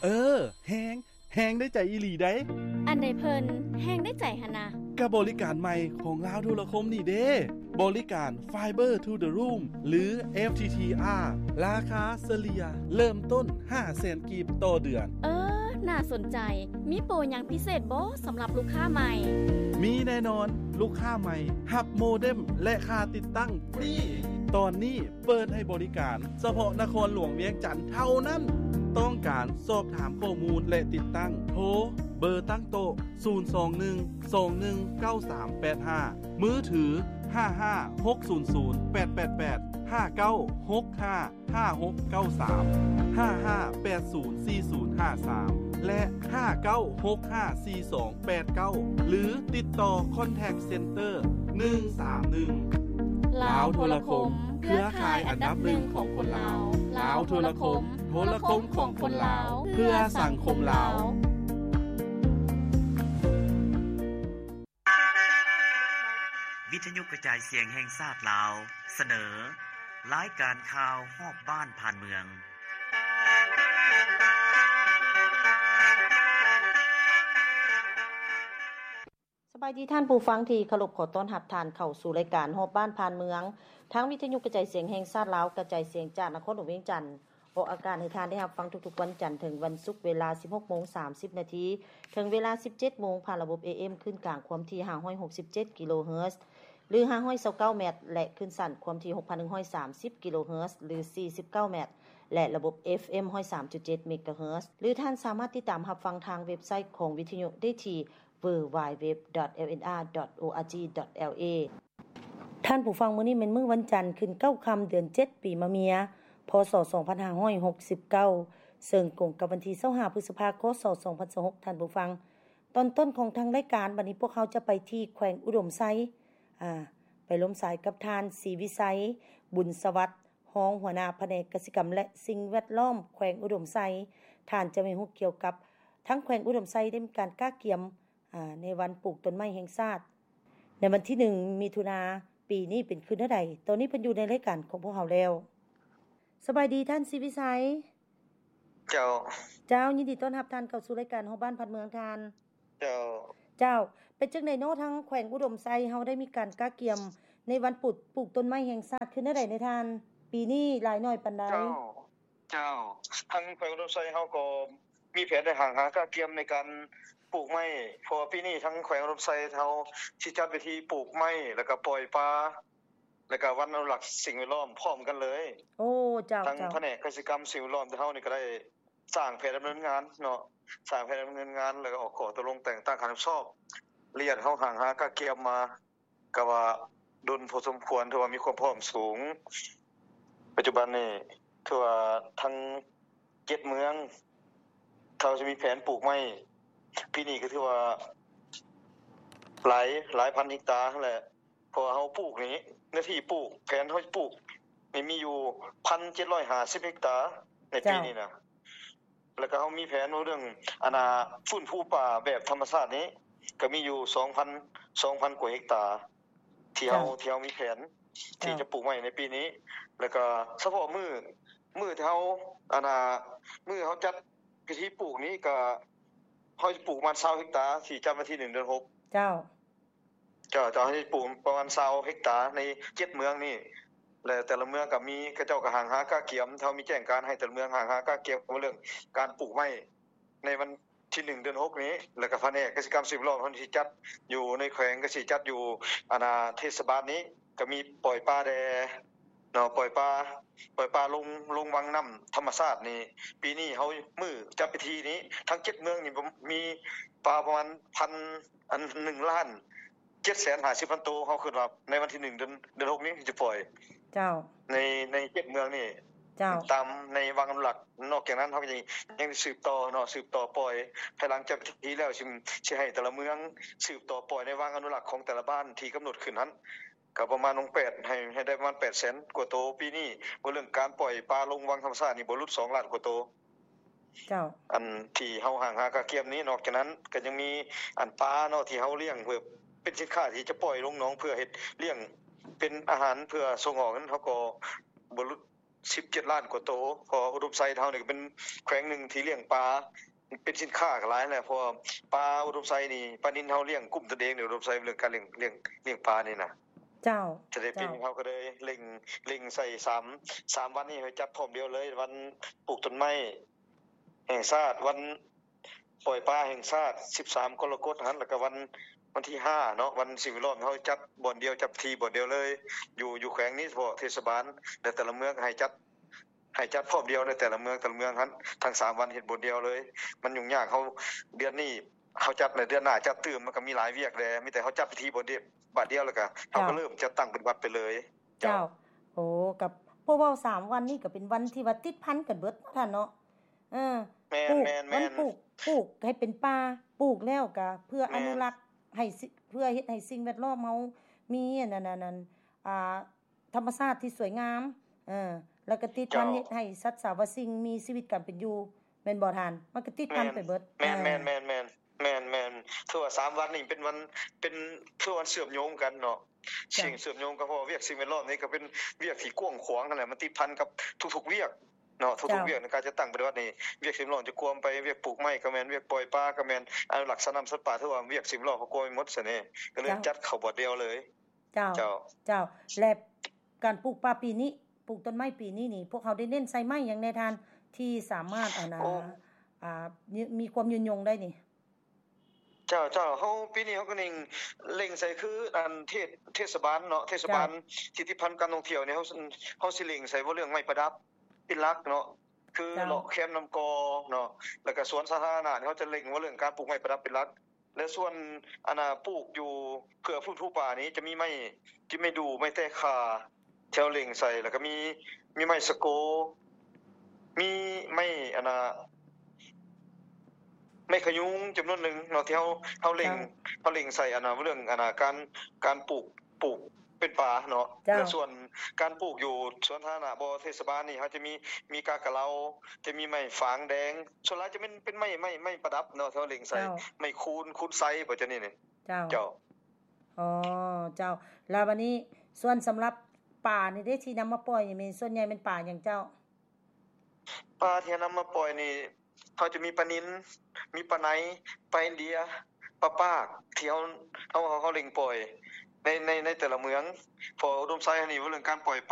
ເອີ ແຮງ ແຮງໄດ້ໃຈອີ່ຫຼີໃດ໋. ອັນໃດເພິ່ນແຮງໄດ້ໃຈຫັ້ນນະ? ກະບໍລິການໃໝ່ຂອງລາວໂທລະຄົມນີ້ເດ້ ບໍລິການ Fiber to the Room ຫຼື FTTR ລາຄາສະເລ່ຍເລີ່ມຕົ້ນຫ້າແສນກີບຕໍ່ເດືອນ. ເອີ ໜ້າສົນໃຈ. ມີໂປຫຍັງພິເສດບໍ່ສຳລັບລູກຄ້າໃໝ່? ມີແນ່ນອນ, ລູກຄ້າໃໝ່ຮັບໂມເດັມ ແລະ ຄ່າຕິດຕັ້ງຟຣີ. ຕອນນີ້ເປີດໃຫ້ບໍລິການສະເພາະນະຄອນຫຼວງວຽງຈັນເທົ່ານັ້ນ. ຕ້ອງການສອບຖາມຂໍ້ມູນ ແລະ ຕິດຕັ້ງ ໂທ ເບີຕັ້ງໂຕະ ສູນສອງໜຶ່ງ ສອງໜຶ່ງ ເກົ້າສາມແປດຫ້າ, ມືຖື ຫ້າຫ້າຫົກສູນສູນແປດແປດແປດ, ຫ້າເກົ້າຫົກຫ້າຫ້າຫົກເກົ້າສາມ, ຫ້າຫ້າແປດສູນສີ່ສູນຫ້າສາມ ແລະ ຫ້າເກົ້າຫົກຫ້າສີ່ສອງແປດເກົ້າ ຫຼື ຕິດຕໍ່ Contact Center ໜຶ່ງສາມໜຶ່ງ. ລາວໂທລະຄົມ ເຄືອຂ່າຍອັນດັບໜຶ່ງຂອງຄົນລາວ. ລາວໂທລະຄົມ ໂທລະຄົມຂອງຄົນລາວ ເພື່ອສັງຄົມລາວ. ວິທະຍຸກະຈາຍສຽງແຫ່ງຊາດລາວ ສະເໜີ ລາຍການຂ່າວຮອບບ້ານຜ່ານເມືອງ. ສະບາຍດີທ່ານຜູ້ຟັງທີ່ເຄົາລົບ, ຂໍຕ້ອນຮັບທ່ານເຂົ້າສູ່ລາຍການຮອບບ້ານຜ່ານເມືອງ ທາງວິທະຍຸກະຈາຍສຽງແຫ່ງຊາດລາວ ກະຈາຍສຽງຈາກນະຄອນຫຼວງວຽງຈັນ. ອອກອາກາດໃຫ້ທ່ານໄດ້ຮັບຟັງທຸກໆວັນຈັນເຖິງວັນສຸກ ເວລາສິບຫົກໂມງສາມສິບນາທີ ເຖິງເວລາສິບເຈັດໂມງ ຜ່ານລະບົບ ເອເອັມ ຄື້ນກາງຄວາມຖີ່ຫ້າຮ້ອຍຫົກສິບເຈັດກິໂລເຮີດ ຫຼື ຫ້າຮ້ອຍຊາວເກົ້າແມັດ ແລະ ຄື້ນສັ້ນຄວາມຖີ່ຫົກພັນໜຶ່ງຮ້ອຍສາມສິບກິໂລເຮີດ ຫຼື ສີ່ສິບເກົ້າແມັດ ແລະ ລະບົບ ເອຟເອັມ ຮ້ອຍສາມຈຸດເຈັດເມກາເຮີດ ຫຼື ທ່ານສາມາດຕິດຕາມຮັບຟັງທາງເວັບໄຊຂອງວິທະຍຸໄດ້ທີ່ www.lnr.org.la. ທ່ານຜູ້ຟັງ, ມື້ນີ້ແມ່ນມື້ວັນຈັນ ຂຶ້ນເກົ້າຄ່ຳ ເດືອນເຈັດ ປີມະເມຍ ພ.ສ. ສອງພັນຫ້າຮ້ອຍຫົກສິບເກົ້າ ເຊິ່ງກົງກັບວັນທີຊາວຫ້າ ພຶດສະພາ ຄ.ສ. ສອງພັນຊາວຫົກ ທ່ານຜູ້ຟັງ. ຕອນຕົ້ນຂອງທາງລາຍການ, ບັດນີ້ພວກເຮົາຈະໄປທີ່ແຂວງອຸດົມໄຊ, ອາ, ໄປລົມສາຍກັບທ່ານ ສີວິໄຊ ບຸນສະຫວັດ, ຮອງຫົວໜ້າພະແນກກະສິກຳ ແລະ ສິ່ງແວດລ້ອມແຂວງອຸດົມໄຊ. ທ່ານຈະໃຫ້ຮູ້ກ່ຽວກັບທາງແຂວງອຸດົມໄຊໄດ້ມີການກະກຽມ ອາ ໃນວັນປູກຕົ້ນໄມ້ແຫ່ງຊາດ ໃນວັນທີໜຶ່ງ ມິຖຸນາ ປີນີ້ເປັນຄືແນວໃດ? ຕອນນີ້ເພິ່ນຢູ່ໃນລາຍການຂອງພວກເຮົາແລ້ວ. ສະບາຍດີທ່ານ ສີວິໄຊ. ເຈົ້າ. ເຈົ້າ, ຍິນດີຕ້ອນຮັບທ່ານເຂົ້າສູ່ລາຍການຮອບບ້ານຜ່ານເມືອງທ່ານ. ເຈົ້າ. ເຈົ້າ, ເປັນຈັ່ງໃດເນາະ ທາງແຂວງອຸດົມໄຊເຮົາໄດ້ມີການກະກຽມໃນວັນປູກ ປູກຕົ້ນໄມ້ແຫ່ງຊາດຄືແນວໃດແດ່ທ່ານ? ປີນີ້ຫຼາຍໜ້ອຍປານໃດ? ເຈົ້າ. ເຈົ້າ, ທາງແຂວງອຸດົມໄຊເຮົາກໍມີແຜນໄດ້ຫາງຫາກະກຽມໃນການປູກໄມ້ ເພາະວ່າປີນີ້ທາງແຂວງອຸດົມໄຊເຮົາຊິຈັດເວທີປູກໄມ້ ແລ້ວກໍປ່ອຍປາ ແລ້ວກໍວັນອະນຸລັກສິ່ງແວດລ້ອມພ້ອມກັນເລີຍ. ໂອ້ ເຈົ້າ, ທາງ ເຈົ້າ. ພະແນກກະສິກຳສິ່ງແວດລ້ອມເຮົານີ້ກໍໄດ້ສ້າງແຜນດຳເນີນງານເນາະ, ສ້າງແຜນດຳເນີນງານ ແລ້ວກໍອອກຂໍ້ຕົກລົງແຕ່ງຕັ້ງການຮັບຜິດຊອບ. ລະອຽດເຮົາຫາງຫາກະກຽມມາ ກໍວ່າດົນພໍສົມຄວນ, ຖືວ່າມີຄວາມພ້ອມສູງ. ປັດຈຸບັນນີ້ຖືວ່າທັງເຈັດເມືອງ ເຮົາຈະມີແຜນປູກໄມ້ ປີນີ້ກໍຖືວ່າຫຼາຍ, ຫຼາຍພັນເຮັກຕາຫັ້ນແຫຼະ. ເພາະວ່າເຮົາປູກນີ້ ເນື້ອທີ່ປູກ, ແຜນເຮົາຈະປູກນີ້ມີຢູ່ ໜຶ່ງພັນເຈັດຮ້ອຍຫ້າສິບເຮັກຕາໃນປີນີ້ນະ. ເຈົ້າ. ແລ້ວກໍເຮົາມີແຜນເລື່ອງ ອັນນ່າ ຟື້ນຟູປ່າແບບທຳມະຊາດນີ້ ກໍມີຢູ່ ສອງພັນ ສອງພັນກວ່າເຮັກຕາ ທີ່ເຮົາ ເຈົ້າ. ທີ່ເຮົາມີແຜນທີ່ ເຈົ້າ. ຈະປູກໄມ້ໃນປີນີ້. ແລ້ວກໍສະເພາະມື້ ມື້ທີ່ເຮົາ ອັນນ່າ ມື້ເຮົາຈັດພິທີປູກນີ້ ກໍເຮົາຈະປູກປະມານຊາວເຮັກຕາ ທີ່ຈັດວັນທີໜຶ່ງ ເດືອນຫົກ. ເຈົ້າ. ເຈົ້າ, ເຈົ້າ, ເຮົາຈະປູກປະມານຊາວເຮັກຕາໃນເຈັດເມືອງນີ້ ແລະ ແຕ່ລະເມືອງກໍມີ ເຂົາເຈົ້າກໍຫາງຫາກະກຽມ, ເຮົາມີແຈ້ງການໃຫ້ແຕ່ລະເມືອງຫາງຫາກະກຽມເລື່ອງການປູກໄມ້ໃນວັນທີໜຶ່ງ ເດືອນຫົກນີ້. ແລ້ວກໍພະແນກກະສິກຳສິ່ງແວດລ້ອມເຮົາຊິຈັດຢູ່ໃນແຂວງ ກໍຊິຈັດຢູ່ ອັນນ່າ ເທດສະບານນີ້ ກໍມີປ່ອຍປາແດ່ເນາະ, ປ່ອຍປາ, ປ່ອຍປາລົງ, ລົງວັງນ້ຳທຳມະຊາດນີ້. ປີນີ້ເຮົາ ມື້ຈັດພິທີນີ້ ທັງເຈັດເມືອງນີ້ມີປາປະມານພັນ ອັນ ໜຶ່ງລ້ານເຈັດແສນຫ້າສິບພັນໂຕ. ເຮົາຄິດວ່າໃນວັນທີໜຶ່ງ ເດືອນ ເດືອນຫົກນີ້ຈະປ່ອຍ ເຈົ້າ. ໃນ ໃນເຈັດເມືອງນີ້ ເຈົ້າ. ຕາມໃນວັງອະນຸລັກ. ນອກຈາກນັ້ນ ເຮົາກໍຍັງ ຍັງສືບຕໍ່ເນາະ, ສືບຕໍ່ປ່ອຍ. ພາຍຫຼັງຈາກພິທີແລ້ວ ຊິ ຊິໃຫ້ແຕ່ລະເມືອງສືບຕໍ່ປ່ອຍໃນວັງອະນຸລັກຂອງແຕ່ລະບ້ານທີ່ກຳນົດຂຶ້ນຫັ້ນ ກໍປະມານ ແປດ ໃຫ້ ໃຫ້ໄດ້ປະມານແປດແສນກວ່າໂຕ. ປີນີ້ ເວົ້າເລື່ອງການປ່ອຍປາລົງວັງທຳມະຊາດນີ້ ບໍ່ຫຼຸດສອງລ້ານກວ່າໂຕ. ເຈົ້າ. ອັນທີ່ເຮົາຫາງຫາກະກຽມນີ້, ນອກຈາກນັ້ນກໍຍັງມີອັນປາເນາະ ທີ່ເຮົາລ້ຽງເພື່ອເປັນສິນຄ້າທີ່ຈະປ່ອຍລົງໜອງ ເພື່ອເຮັດລ້ຽງເປັນອາຫານເພື່ອສົ່ງອອກນັ້ນ ເຮົາກໍບໍ່ຫຼຸດ ສິບເຈັດລ້ານກວ່າໂຕ. ເພາະວ່າອຸດົມໄຊເຮົານີ້ກໍເປັນແຂວງໜຶ່ງທີ່ລ້ຽງປາ ເປັນສິນຄ້າກໍຫຼາຍແຫຼະ ເພາະວ່າປາອຸດົມໄຊນີ້ ປານິນເຮົາລ້ຽງກຸ້ມຕົນເອງໃນອຸດົມໄຊ ເລື່ອງການລ້ຽງ ລ້ຽງ ລ້ຽງປານີ້ນະ. ເຈົ້າ ຈະໄດ້ ເຈົ້າ ປີນີ້ເຮົາກໍເລີຍເລັ່ງ ເລັ່ງໃສ່ສາມ ສາມວັນນີ້ໃຫ້ຈັດພ້ອມດຽວເລີຍ ວັນປູກຕົ້ນໄມ້ແຫ່ງຊາດ ວັນປ່ອຍປາແຫ່ງຊາດ ສິບສາມກໍລະກົດຫັ້ນ ແລ້ວກໍວັນ ວັນທີຫ້າເນາະ ວັນສິ່ງແວດລ້ອມ ເຮົາຈັດບ່ອນດຽວ ຈັດທີ່ບ່ອນດຽວເລີຍ ຢູ່ ຢູ່ແຂວງນີ້ ສະເພາະເທດສະບານ ແລະ ແຕ່ລະເມືອງໃຫ້ຈັດ ໃຫ້ຈັດພ້ອມດຽວໃນແຕ່ລະເມືອງ ແຕ່ລະເມືອງຫັ້ນ ທັງສາມວັນເຮັດບ່ອນດຽວເລີຍ ມັນຫຍຸ້ງຍາກ. ເຮົາ ເດືອນນີ້ເຮົາຈັດ ແລະ ເດືອນໜ້າຈັດຕື່ມ ມັນກໍມີຫຼາຍວຽກແດ່ ມີແຕ່ເຮົາຈັດພິທີບ່ອນດຽວ ບາດດຽວ ແລ້ວກໍເຮົາກໍ ເຈົ້າ ເລີ່ມຈັດຕັ້ງປະຕິບັດໄປເລີຍ. ເຈົ້າ ເຈົ້າ ໂອ້ ກໍ ເພາະເວົ້າສາມວັນນີ້ກໍເປັນວັນທີ່ວ່າຕິດພັນກັນເບິດເນາະທ່ານເນາະ. ເອີ ແມ່ນ ແມ່ນ ແມ່ນ ວັນປູກ ປູກໃຫ້ເປັນປ່າ ປູກແລ້ວກໍເພື່ອ ແມ່ນ ອະນຸລັກໃຫ້ ເພື່ອເຮັດໃຫ້ສິ່ງແວດລ້ອມເຮົາມີອັນນັ້ນ ອັນນັ້ນ ອ່າ ທຳມະຊາດທີ່ສວຍງາມ ເອີ ແລ້ວກໍຕິດພັນ ເຈົ້າ ເຮັດໃຫ້ສັດສາວະສິ່ງມີຊີວິດການເປັນຢູ່ ແມ່ນບໍ່ທ່ານ? ມັນກໍຕິດພັນ ແມ່ນ ໄປເບິດ. ແມ່ນ ເອີ ແມ່ນ ແມ່ນ ແມ່ນ ແມ່ນ ຖືວ່າສາມວັນນີ້ເປັນວັນ ເປັນ ຄືວັນເຊື່ອມໂຍງກັນເນາະ ເຈົ້າ ສິ່ງເຊື່ອມໂຍງກັນ ເພາະວ່າວຽກສິ່ງແວດລ້ອມນີ້ກໍເປັນວຽກທີ່ກວ້າງຂວາງຫັ້ນແຫຼະ ມັນຕິດພັນກັບທຸກໆວຽກເນາະ ທຸກໆ ເຈົ້າ ວຽກໃນການຈັດຕັ້ງປະຕິບັດນີ້ ວຽກສິ່ງແວດລ້ອມຈະກວມໄປ ວຽກປູກໄມ້ກໍແມ່ນ ວຽກປ່ອຍປາກໍແມ່ນ ອະນຸລັກສັດນ້ຳສັດປ່າ ຖືວ່າວຽກສິ່ງແວດລ້ອມເຮົາກວມໄປໝົດຊະນີ້ ກໍເລີຍ ເຈົ້າ ຈັດເຂົ້າບ່ອນດຽວເລີຍ. ເຈົ້າ ເຈົ້າ ເຈົ້າ ແລະ ການປູກປ່າປີນີ້ ປູກຕົ້ນໄມ້ປີນີ້ນີ້ ພວກເຮົາໄດ້ເນັ້ນໃສ່ໄມ້ຫຍັງແດ່ທ່ານ ທີ່ສາມາດ ອັນ ໂອ້ ອ່າ ມີຄວາມຍືນຍົງໄດ້ນີ້? ເຈົ້າ ເຈົ້າ ເຮົາ ປີນີ້ເຮົາກໍເລັ່ງ ເລັ່ງໃສ່ ຄືອັນເທດ ເທດສະບານເນາະ ເທດສະບານ ເຈົ້າ ທີ່ຕິດພັນການທ່ອງທ່ຽວນີ້ ເຮົາ ເຮົາຊິເລັ່ງໃສ່ເວົ້າເລື່ອງໄມ້ປະດັບເປັນຫຼັກເນາະ ຄື ເຈົ້າ ເລາະແຄມນ້ຳກ່ອເນາະ ແລ້ວກໍສວນສາທາລະນະນີ້ ເຮົາຈະເລັ່ງເວົ້າເລື່ອງການປູກໄມ້ປະດັບເປັນຫຼັກ. ແລະ ສ່ວນ ອັນນ່າ ປູກຢູ່ເພື່ອຟື້ນຟູປ່ານີ້ ຈະມີໄມ້ ຈະໄມ້ດູ່ ໄມ້ແຕກຂາ ທີ່ເຮົາເລັ່ງໃສ່ ແລ້ວກໍມີ ມີໄມ້ສະໂກ ມີໄມ້ ອັນນ່າ ໄມ້ຂະຍຸງຈຳນວນໜຶ່ງເນາະ ທີ່ເຮົາ ເຮົາເລັ່ງ ເຈົ້າ ເຮົາເລັ່ງໃສ່ ອັນນ່າ ເລື່ອງ ອັນນ່າ ການ ການປູກ ປູກເປັນປ່າເນາະ ເຈົ້າ ແລະ ສ່ວນການປູກຢູ່ສວນສາທາລະນະບໍ່ ເທດສະບານນີ້ ເຮົາຈະມີ ມີກາກະເລົາ ຈະມີໄມ້ຝາງແດງ ສ່ວນຫຼາຍຈະເປັນ ເປັນໄມ້ ໄມ້ ໄມ້ປະດັບເນາະ ທີ່ເຮົາເລັ່ງໃສ່ ເຈົ້າ ໄມ້ຄູນ ຄູນໄຊ ບໍ່ ຈະນີ້ນີ້ ເຈົ້າ ເຈົ້າ ອໍ ເຈົ້າ ແລ້ວບາດນີ້ ສ່ວນສຳລັບປານີ້ເດ້ ທີ່ນຳມາປ່ອຍນີ້ ແມ່ນ ສ່ວນໃຫຍ່ແມ່ນປາຫຍັງເຈົ້າ? ປາທີ່ເຮົານຳມາປ່ອຍນີ້ ເຮົາຈະມີປານິນ ມີປາໄນ ປາອິນເດຍ ປາປາກ ທີ່ເຮົາ ເຮົາ ເຮົາ ເຮົາເລັ່ງປ່ອຍໃນ ໃນ ໃນແຕ່ລະເມືອງ ເພາະອຸດົມໄຊເຮົານີ້ ເວົ້າເລື່ອງການປ່ອຍປາ